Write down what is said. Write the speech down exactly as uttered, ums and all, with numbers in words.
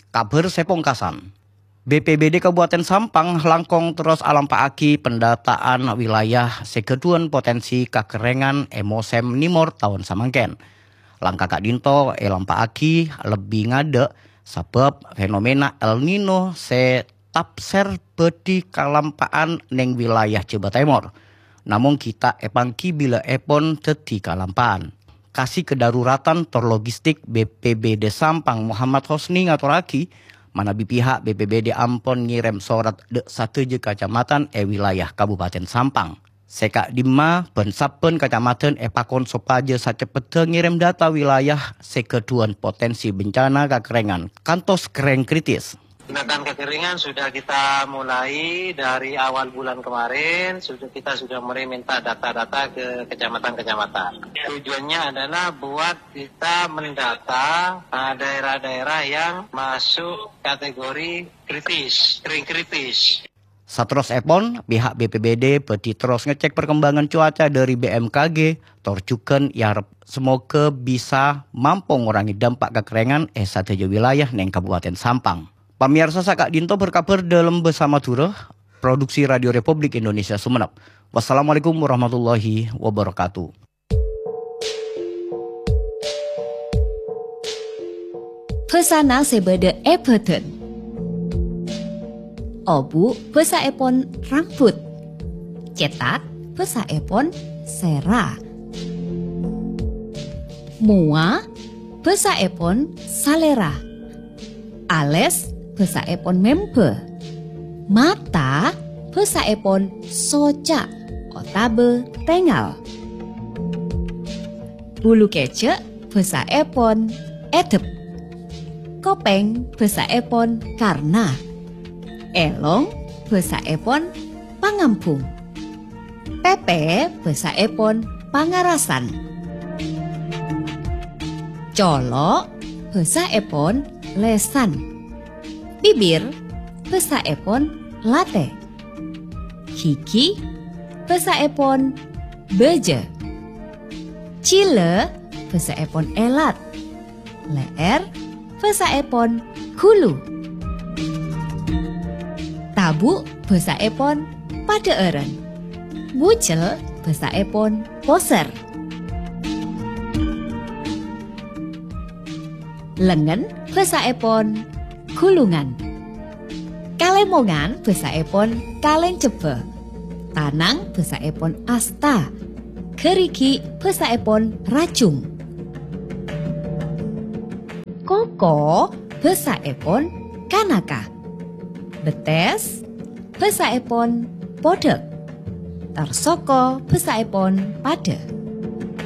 Kabhâr sè pongkasan. B P B D Kabupaten Sampang langkong terros alampa'aghi pendataan wilayah sè ghâdhuwân potensi kakerrèngan è mosèm nèmor taon samangkèn. Langka ka'dinto èlampa'aghi lebbi ngadâ' sabâb fenomena El Nino sè tapsèr bhâdhi kalampa'an neng wilayah Jhâbâ Tèmor. Namong ghi' ta' èpangghi bilâèpon dhâddhi kalampa'an. Kasi Kedaruratan tor Logistik B P B D Sampang Muhammad Hosni ngatorraghi, manabi pihak B P B D ampon ngèrèm sorat dâ' sadhâjâ kacamatan è wilayah Kabupaten Sampang. Sè ka'dimma bân sabbhân kacamatan èpakon sopajâ saceppedda ngèrèm data wilayah sè ghâdhuwân potensi bencana kakerrèngan kantos kerrèng kritis. Tindakan kekeringan sudah kita mulai dari awal bulan kemarin, sudah, kita sudah mulai minta data-data ke kecamatan-kecamatan. Tujuannya adalah buat kita mendata, ah, daerah-daerah yang masuk kategori kritis, kering kritis. Saterrossèpon, pihak B P B D bhâdhi terros ngecek perkembangan cuaca dâri B M K G, tor jhughân èarep semoga bisa mampo ngorangè dampak kakerrèngan è sadhâjâ wilayah neng Kabupaten Sampang. Pamèyarsa, saka'dinto berkabar dalam Bersama Madura, produksi Radio Republik Indonesia Sumenep. Wassalamualaikum warahmatullahi wabarakatuh. Bhâsana sè bâdâ è bhâdhân. Obu' bhâsaèpon rambut. Cètak bhâsaèpon sèra. Mowa bhâsaèpon salèra. Alès bhâsaèpon mèmbâ. Mata bhâsaèpon soca' otabâ tèngal. Bulu kèjhâ' bhâsaèpon èdhep. Kopèng bhâsaèpon karna. Èlong bhâsaèpon pangambhung. Pèpè bhâsaèpon pangarasan. Colo' bhâsaèpon lèsan. Bibir bhâsaèpon latè. Ghighi bhâsaèpon bâjâ. Jhilâ bhâsaèpon èlat. Lè'èr bhâsaèpon ghulu. Tabu' bhâsaèpon padhâ'ârân. Bujel bhâsaèpon posèr. Lengngen bhâsaèpon ghulungan. Kalèmongan bhâsaèpon kalèncebbhâ. Tanang bhâsaèpon asta. Ghârighi' bhâsaèpon rajung. Koko bhâsaèpon kanaka. Bettès bhâsaèpon podhâk. Tarsoko bhâsaèpon padâ.